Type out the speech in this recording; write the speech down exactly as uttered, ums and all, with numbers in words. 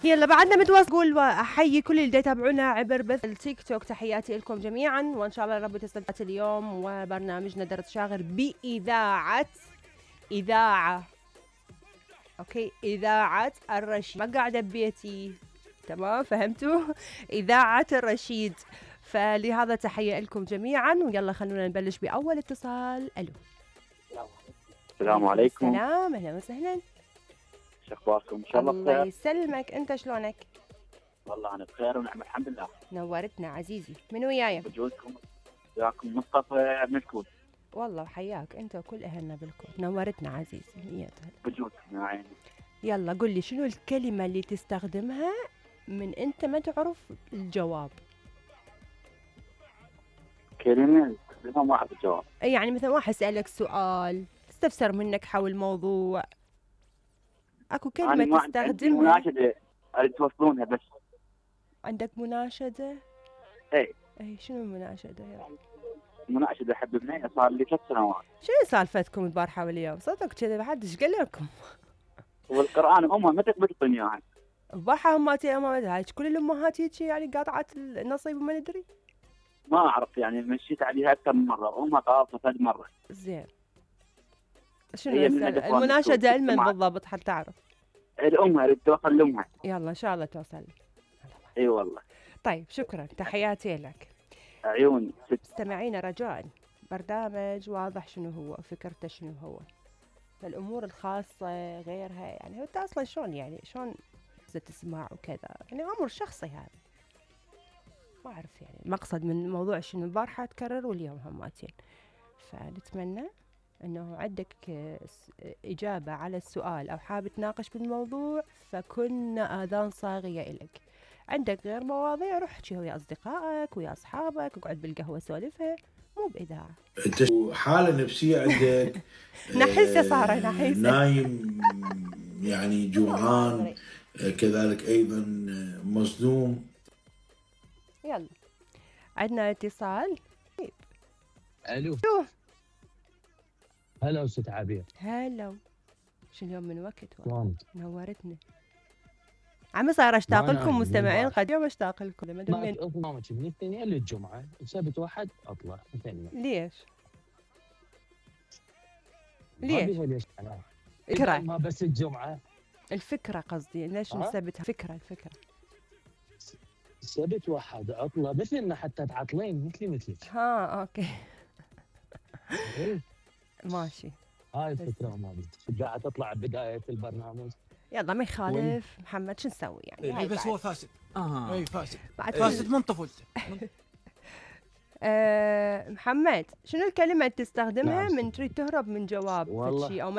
يلا بعدنا متواصل. قول واحيي كل اللي يتابعونا عبر بث التيك توك. تحياتي لكم جميعا، وان شاء الله رب تستمتعوا اليوم وبرنامجنا درس شاغر باذاعه اذاعه اوكي اذاعه الرشيد. ما قاعده ببيتي، تمام؟ فهمتوا؟ اذاعه الرشيد. فلهذا تحيه لكم جميعا، ويلا خلونا نبلش باول اتصال. الو، السلام عليكم. السلام، اهلا وسهلا. شو اخباركم؟ ان شاء الله بخير. الله يسلمك، انت شلونك؟ والله انا بخير ونعم الحمد لله. نورتنا عزيزي. من وياي؟ بجوزكم وياكم مصطفى من الكويت. والله حياك انت وكل اهلنا بالكويت. نورتنا عزيزي. مية بجوزكم يا عيني. يلا قل لي شنو الكلمه اللي تستخدمها من انت ما تعرف الجواب؟ كلمه استخدمها ما اعرف الجواب. يعني مثلا واحد سألك سؤال استفسر منك حول موضوع، اكو كلمه تستخدمها. مناشده اريد توصلونها بس. عندك مناشده؟ اي اي شنو المناشده يعني؟ مناشده احب ابني صار لي ثلاث سنوات. شنو سالفتكم البارحه واليوم؟ صدق كذا ما حدش قال لكم؟ والقران امها ما تقبل الدنيا يعني. البارحه اماتي امات هاي كل الامهات هيك يعني قاطعت النصيب وما ندري. ما اعرف يعني مشيت عليها اكثر من مره وامها قاطعه ثلاث مرة. زين شنو المناشده لمن بالضبط حتى تعرف؟ الام اريد توصل لامها. يلا ان شاء الله توصل. اي والله. طيب شكرا، تحياتي لك. عيوني. مستمعينا رجاء، برنامج واضح شنو هو، فكرته شنو هو، الامور الخاصه غيرها يعني. انت اصلا شلون يعني شلون تسمع وكذا يعني امر شخصي هذا. ما اعرف يعني المقصد من الموضوع شنو. البارحه تكرر واليوم هماتين. فنتمنى انه عندك اجابه على السؤال او حاب تناقش بالموضوع فكنا اذان صاغيه الك. عندك غير مواضيع روح احكي ويا اصدقائك ويا اصحابك، اقعد بالقهوه سولفها، مو باذاعه. انت حاله نفسيه عندك نحسه صار نحسه نايم يعني جوعان كذلك ايضا مصدوم. يلا عندنا اتصال. الو. هلا استاذ عبير. هلا. شو اليوم من وقت والله نورتني. عمي صار اشتاق لكم مستمعين قد يوم اشتاق لكم. ما برنامج من الاثنين للجمعه، سبت واحد اطلع ثانيه. ليش؟ ليش؟ ليش انا؟ فكرة ما بس الجمعه. الفكره قصدي ليش نثبتها؟ فكره الفكره سبت واحد اطلع مثلنا حتى تعطلين مثلي مثلك. ها اوكي. ماشي. هاي الفكره مالتي قاعد تطلع بدايه البرنامج. يلا ما يخالف. محمد شو نسوي يعني؟ اي بس هو فاسد. اه اي فاسد. فاسد من طفولته. آه محمد شنو الكلمه اللي تستخدمها من تريد تهرب من جواب شيء او ما